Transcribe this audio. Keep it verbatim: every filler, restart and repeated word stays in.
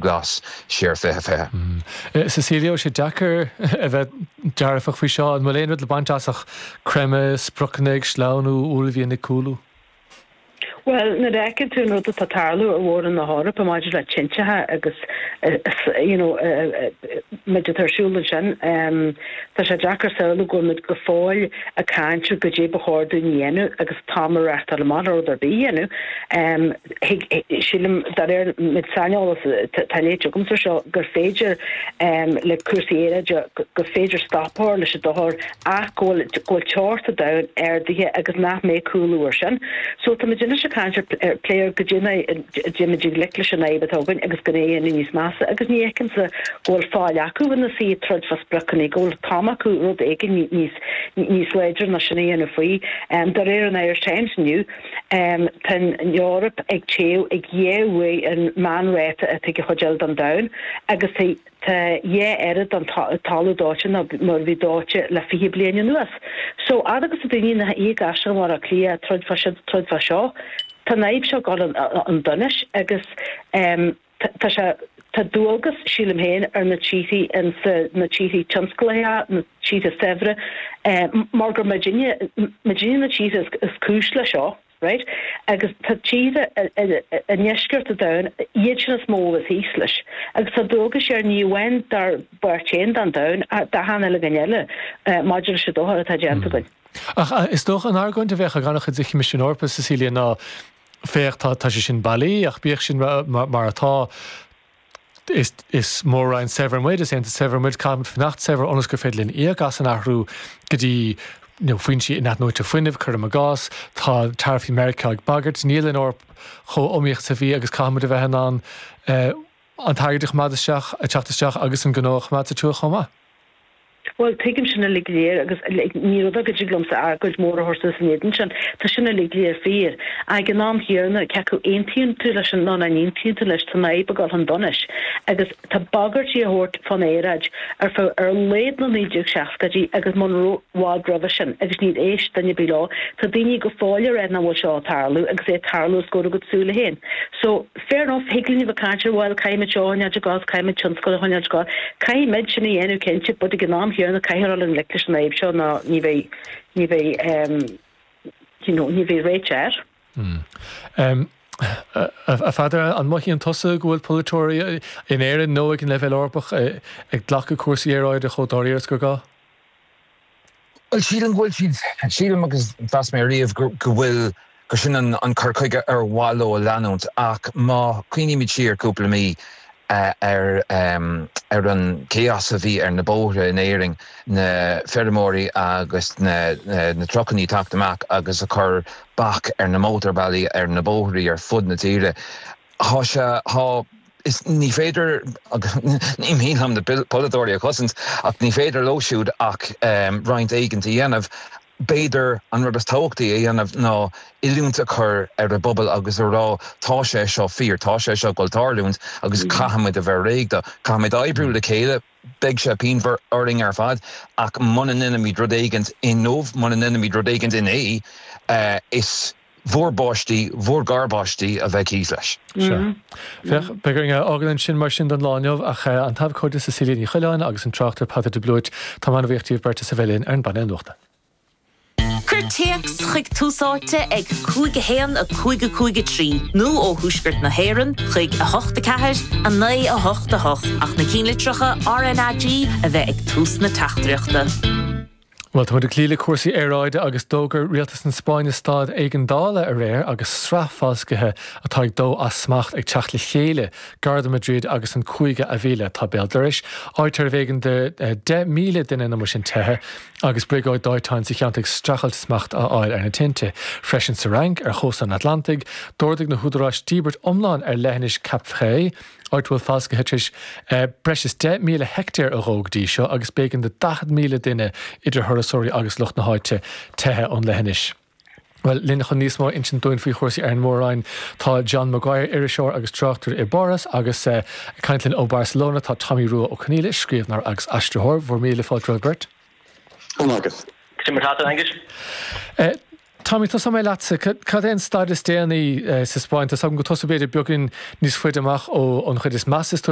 Glas siar fiche fiche. Cecilia, sé deacair a bheith dearfach faoi seo an bhfuil aon rud le baint as ach creimeadh, spriocanna ag sleamhnú, uaillmhian ag cúlú. Well nuair a fheiceann tú an rud atá ag tarlú ar mhór-roinn na hEorpa maidir le tinte agus you know méid atá ar siúl ansin tá sé deacair samhlú go bhfuil muid go fóill ag caint ar goidé ba chóir dúinn a dhéanamh agus t-am a reáchtáil amach le rud ar bith a dhéanamh. Sílim de réir an méid saineolas atá léite agamsa seo gur féidir le cúrsaí aeráide gur féidir stop a chur leis an dochar ach go bhfuil go bhfuil teocht an domhain ardaithe agus nach mbeidh cúlú ar sin. So tá muid anois ag caint ar plé ar goidé déanfaimid i ngleic leis an fhadhb atá againn agus gan é a dhéanamh níos measa agus ní fheicimse go bhfuil fáil acu ina suí ag troid fá spriocanna, go bhfuil t-am acu rud éigin níos níos láidre ná sin a dhéanamh faoi. De réir an Irish Times inniu, tá an Eoraip ag téamh ag dhá uair an meánráta atá ag an chuid eile den domhan agus tá Tá dhá oiread den talamh dóite ná mar a bhí dóite le fiche bliain anuas. So, fhad agus tá daoine ina shuí i gCaisleán Bhaile Átha Cliath ag troid fá seo, troid fá seo, tá an fhadhb seo ag dul chun donais agus tá sé, tá dualgas, sílim féin, ar na tíorthaí insa, na tíorthaí tionsclaithe, na tíortha saibhre, mar gur muidinne, muidinne na tíortha is cúis le seo. Right? Agus tá tíortha i ndeisceart an domhain, iad sin is mó a bheas thíos leis. Agus tá dualgas air ní amháin dár bpáirt féin den domhan ach d'achan uile dhuine eile maidir leis an dochar atá déanta againn. Ach is dócha an argóint a bheadh ag an-chuid de Choimisiún Eorpach, Cecilia, ná féach, tá sé sin bailí ach bíodh sin mar atá, Is is mór-roinn saibhir muid, is aontas saibhir muid, caithfimid fanacht saibhir ionas gur féidir linn íoc as an athrú go dtí you know foinsí inathnuaite fuinnimh, cuirim i gcás. Tá taraifí Meiriceá ag bagairt, níl an Eoraip chomh iomaíoch is a bhí agus caithfimid a bheith in ann an t-airgead a choimeád isteach, ag teacht isteach agus an gnó a choimeád sa tuath chomh maith. Bhuel, tuigim sin uilig go léir agus ní rud é go dtig liomsa argóint mhór a thabhairt suas in éadan sin. Tá sin uilig go léir fíor. Ag an am chéanna, cé acu aontaíonn tú leis nó nach n-aontaíonn tú leis, tá an fhadhb ag dul chun donais agus tá bagairtí á thabhairt fán aeráid ar feadh ar a laghad na naoi déag seascaidí agus muna raibh i bhfad roimhe sin agus níor éist duine ar bith leo. Tá daoine go fóill ag rá nach bhfuil seo ag tarlú agus é ag tarlú os comhair a gcuid súile féin. So, fair enough, thig linn a bheith ag caint ar bhuel, caithfimid seo a choinneáilt ag gabháil, caithfimid tionscal a choinneáilt ag gabháil. Caithfimid sin a dhéanamh cinnte, but ag an am chéanna caithfear dul i ngleic leis an fhadhb seo nó ní bheidh, ní bheidh, you know, ní bheidh réiteach air. Mm. A Pheadair, an mothaíonn tusa go bhfuil polaiteoirí in Éirinn nó ag an leibhéal Eorpach ag glacadh cúrsaí aeráide chomh dáiríre is gur gá? Bhuel, sílim go bhfuil siad, sílim agus mheas mé riamh go bhfuil, gur sin an cur chuige ar mhaith leo a leanúint ach má chuimhnímid siar cúpla mí ar ar an chaos a bhí ar na bóithre in Éirinn, na feirmeoirí agus na na trucannaí ag teacht amach agus ag cur bac ar na mótarbhealaí, ar na bóithrí ar fud na tíre, Thá sé, thá, is ní féidir, agus ní mian liom na polaiteoirí a chosaint, ach ní féidir leo siúd ach roinnt éigint a dhéanamh. B'fhéidir an rud is tábhachtaí a dhéanamh ná oiliúint a chur ar an bpobal agus a rá tá sé seo fíor, tá sé seo ag dul tarlúint agus caithfimid a bheith réidh dó. Caithfimid oibriú le chéile, beidh sé pianmhar orainn ar fad ach muna ndéanaimid rud éigint inniu, muna ndéanaimid rud éigint inné, is. bhur bpáistí, bhur ngarpháistí a bheidh thíos leis. Sea. Féach, beidh orainn a fhágáil ansin mar sin don lá inniu, ach an t-abhcóide Cecilia Ní Choileáin agus an tráchtaire Peadar de Blúit, táim an-bhuíoch díobh beirt as a bheith linn ar an bpainéal nuachta. Cuir téacs chuig Tús Áite ag cúig a haon a cúig a cúig a trí nó ó thuaisceart na hÉireann chuig a hocht a ceathair a naoi a hocht a hocht ach na cinnlitreacha RnaG a bheith ag tús na teachtaireachta. Bhuel, tá muid ag cloí le cúrsaí aeráide agus d'fhógair rialtas na Spáinne staid éigeandála aréir agus sraith falscaithe atá ag dó as smacht ag teacht le chéile gar do Madrid agus an cúige Ávila atá béal dorais, áit arbh éigean do deich míle duine nó mar sin teitheadh agus briogáid dóiteáin sa cheantar ag streachailt smacht a fháil ar na tinte. Freisin sa Fhrainc, ar chósta an Atlantaigh, d'ordaigh na húdaráis díbirt iomlán ar leithinis Cap Ferret, áit a bhfuil falscaithe tar éis breis is deich míle heictéar a dhó go dtí seo agus b'éigean do daichead míle duine, idir thurasóirí agus lucht na háite, teitheadh ón leithinis. Bhuel, linn chun níos mó a insint dúinn faoi chúrsaí ar an Mór-Roinn tá John Maguire, iriseoir agus tráchtaire i bPáras agus ag caint linn ó Barcelona tá Tommy Rua Ó Conghaile, scríbhneoir agus aistritheoir. Bhur míle fáilte romhaibh beirt. Go raibh maith agat. Cad é mar atá tú, Aengus? Tommy, tosóidh mé leatsa. Cad é an staid is déanaí sa Spáinn? Tá 's agam go bhfuil tusa b'fhéidir beagán níos faide amach ón chuid is measa is